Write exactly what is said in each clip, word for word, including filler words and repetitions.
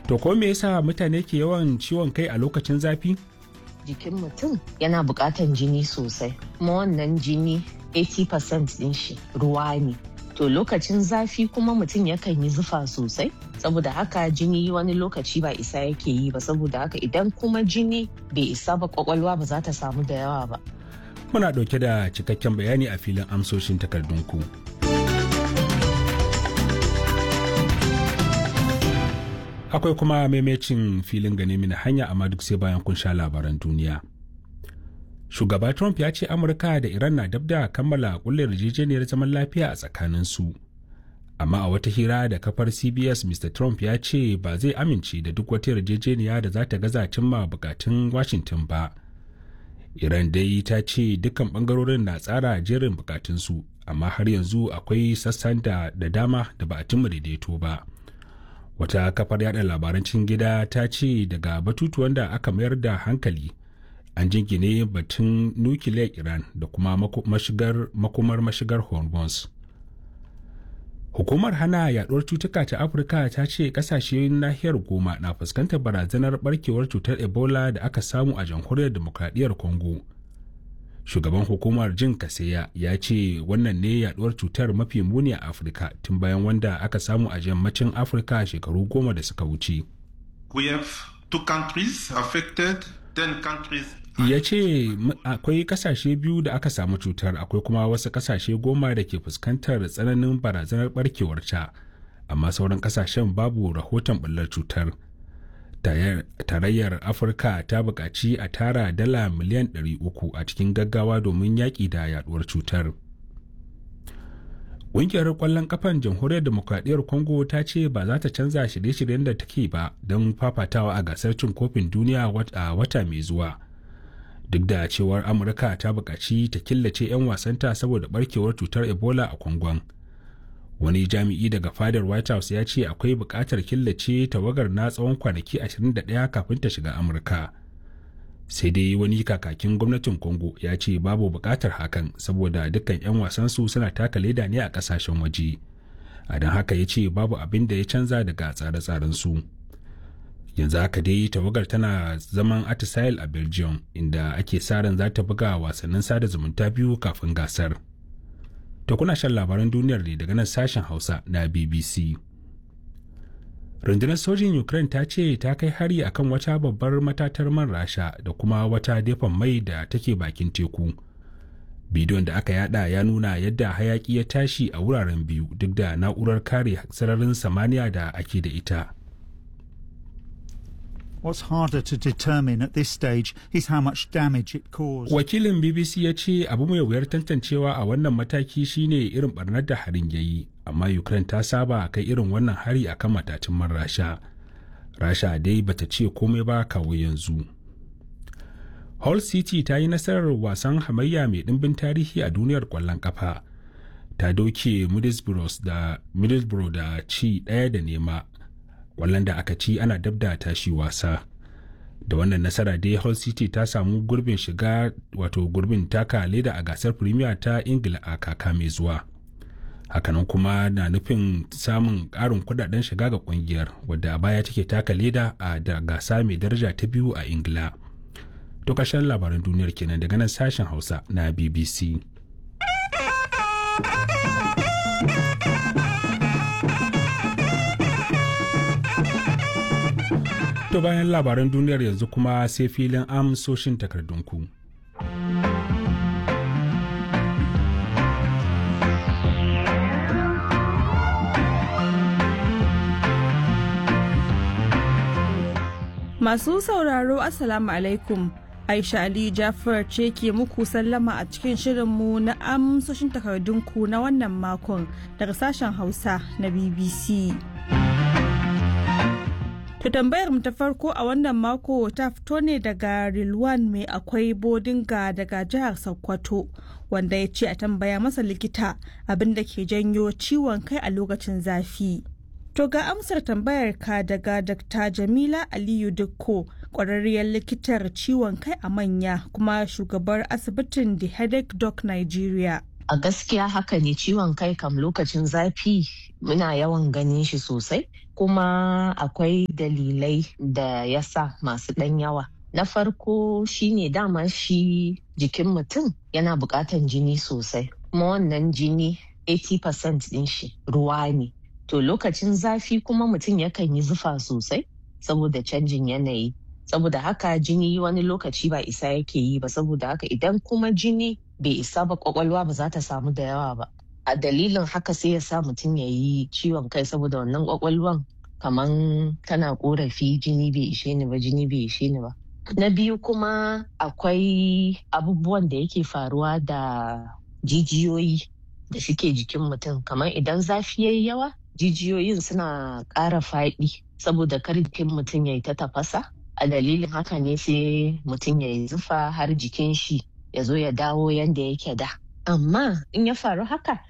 To ko me yasa mutane ke yawan ciwon kai a lokacin zafi? Jikin mutum yana buƙatan jini sosai, kuma wannan jini kashi tamanin cikin ɗari din shi ruwa ne. To lokacin zafi kuma mutum yakan yi zufa sosai, saboda haka jini wani lokaci ba isa yake yi ba, saboda haka idan kuma jini bai isa ba, kwakwalwa ba za ta samu da yawa ba. Muna ɗauke da cikakken bayani a filin amsoshin takardunku. Akwai kuma maimacin filin gane mini hanya, amma duk sai bayan kun sha labaran duniya. Shugaba Trump ya ce Amurka da Iran na dab da kammala kulle yarjejeniyar zaman lafiya a tsakaninsu. Amma a wata hira da kafar C B S, Mister Trump ya ce ba zai amince da duk wata yarjejeniya da za ta gaza cimma bukatun Washington ba. Iran dai ta ce dukkan bangarorin na tsara jerin bukatunsu, amma har yanzu akwai sassan da da dama da ba a cimma daidaito ba. Wata kafar yada labaran cikin gida ta ce daga batutuwan da aka mayar da hankali an jingine batun nukiliyar Iran da kuma mashigar makomar mashigar Hormuz. Hukumar hana yaduwar cutuka ta Afirka ta ce kasashen nahiyar goma na fuskantar barazanar barkewar cutar Ebola da aka samu a Jamhuriyar Demokradiyyar Congo. Shugaban hukumar Jin Kaseya ya ce wannan ne yaduwar cutar mafi muni a Afirka tun bayan wanda aka samu a yammacin Afirka shekaru goma da suka wuce. We have two countries affected, ten countries. Ya ce akwai kasashe biyu da aka samu cutar, akwai kuma wasu kasashe goma da ke fuskantar tsananin barazanar barkewar ta, amma sauran kasashen babu rahoton bullar cutar. Tarayyar Afirka ta buƙaci a tara dala miliyan ɗari uku a cikin gaggawa domin yaƙi da yaduwar cutar. Ƙungiyar ƙwallon ƙafan Jamhuriyar Demokradiyyar Congo ta ce ba za ta canza shirye-shiryen da take ba don fafatawa a gasar cin kofin duniya a wata mai zuwa, duk da cewar Amurka ta buƙaci ta killace 'yan wasanta saboda barkewar cutar Ebola a Kwangon. Wani jami'i daga fadar White House ya ce akwai buƙatar killace tawagar na tsawon kwanaki ashirin da ɗaya kafin ta shiga Amurka. Sai dai wani kakakin gwamnatin Congo ya ce babu buƙatar hakan saboda dukkan 'yan wasansu suna taka leda ne a ƙasashen waje, a don haka ya ce babu abin da ya canza daga tsare-tsaren su. Yanzu haka dai tawagar tana zaman atisail a Belgium, inda ake sa ran za ta buga wasannin sada zumunta biyu kafin gasar. To kuna shan labaran duniyar ne daga nan sashen Hausa na B B C. Rundunar sojin Ukraine ta ce ta kai hari akan wata babbar matatar man Rasha da kuma wata dafan mai da take bakin teku. Bidiyon da aka yada ya nuna yadda hayaki ya tashi a wuraren biyu duk da na'urar kare sararin samaniya da ake da ita. What's harder to determine at this stage is how much damage it caused. Wakilin B B C ya ce abu mai wuyar tantancewa a wannan mataki shine irin barnar da harin ya yi, amma Ukraine ta saba kai irin wannan hari akan matatun man Rasha. Rasha dai bata ce komai ba kawo yanzu. Hull City ta yi nasarar wasan hamayya mai ɗimbin tarihi a duniyar kwallon kafa. Ta doke Middlesbrough da Middlesbrough da ci ɗaya da nema, kwallon da aka ci ana dab da tashi wasa. Da wannan nasara dai Hull City ta samu gurbin shiga, wato gurbin taka leda a gasar Premier ta Ingila a kaka mai zuwa. Hakanan kuma na nufin samun karin kudaden shiga ga kungiyar, wadda a baya take taka leda a da gasa mai daraja ta biyu a Ingila. To karshen labaran duniyar kenan daga nan sashen Hausa na B B C. To bayan labaran duniyar yanzu kuma sai filin amsoshin takardunku. Masu sauraro, Assalamu alaikum. Aisha Ali Jafar ce ke muku sallama a cikin shirinmu na amsoshin takardunku na wannan makon daga sashen Hausa na B B C. To tambayar mu ta farko a wannan mako ta fito ne daga Rilwan Mai Akwai Bodinga daga jihar Sokoto, wanda ya ce a tambaya masa likita abin da ke janyo ciwon kai a lokacin zafi. To ga amsar tambayar ka daga Dakta Jamila Aliyu Dukko, ƙwararriyar likitar ciwon kai a manya kuma shugabar asibitin The Headache Doc Nigeria. A gaskiya haka ne, ciwon kai kam lokacin zafi muna yawan ganin shi sosai. Kuma akwai dalilai da ya sa masu ɗan yawa. Na farko shine dama shi jikin mutum yana buƙatan jini sosai. Kuma wannan jini kashi tamanin cikin ɗari ɗin shi ruwa ne. To lokacin zafi kuma mutum yakan yi zufa sosai saboda canjin yanayi. Saboda haka jini wani lokaci ba isa yake yi ba, saboda haka idan kuma jini bai isa ba, kwakwalwa ba za ta samu da yawa ba. A dalilin haka sai ya sa mutum ya yi ciwon kai, saboda wannan kwakwalwan kaman tana korafi, jini bai ishe ni ba, jini bai ishe ni ba. Na biyu kuma, akwai abubuwan da yake faruwa da jijiyoyi da suke jikin mutum, kamar idan zafi yayi yawa, jijiyoyin suna ƙara faɗi saboda kar jikin mutum ya yi ta tafasa. A dalilin haka ne sai mutum ya yi zufa har jikin shi ya zo ya dawo yanda yake da. Amma in ya faru haka,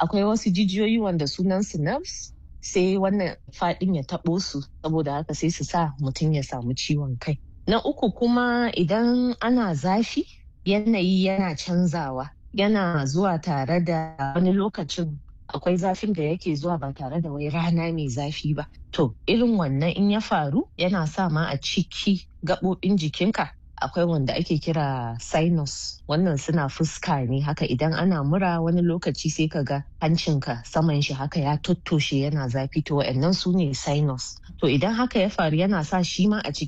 akwai wasu jijiyoyi wanda sunan su nerves, sai wannan faɗin ya taɓo su, saboda haka sai su sa mutum ya samu ciwon kai. Na uku kuma, idan ana zafi, yanayi yana canzawa, yana zuwa tare da wani lokacin akwai zafin da yake zuwa ba tare da wai rana mai zafi ba. To irin wannan in ya faru, yana sa ma a ciki gaɓoɓin jikinka akwai wanda ake kira sinus, wannan suna fuska ne haka. Idan ana mura, wani lokaci sai ka ga hancinka saman shi haka ya tottoshe, yana zafi. To wa'annan su ne sinus. To idan haka ya faru, yana sa shi ma a cikin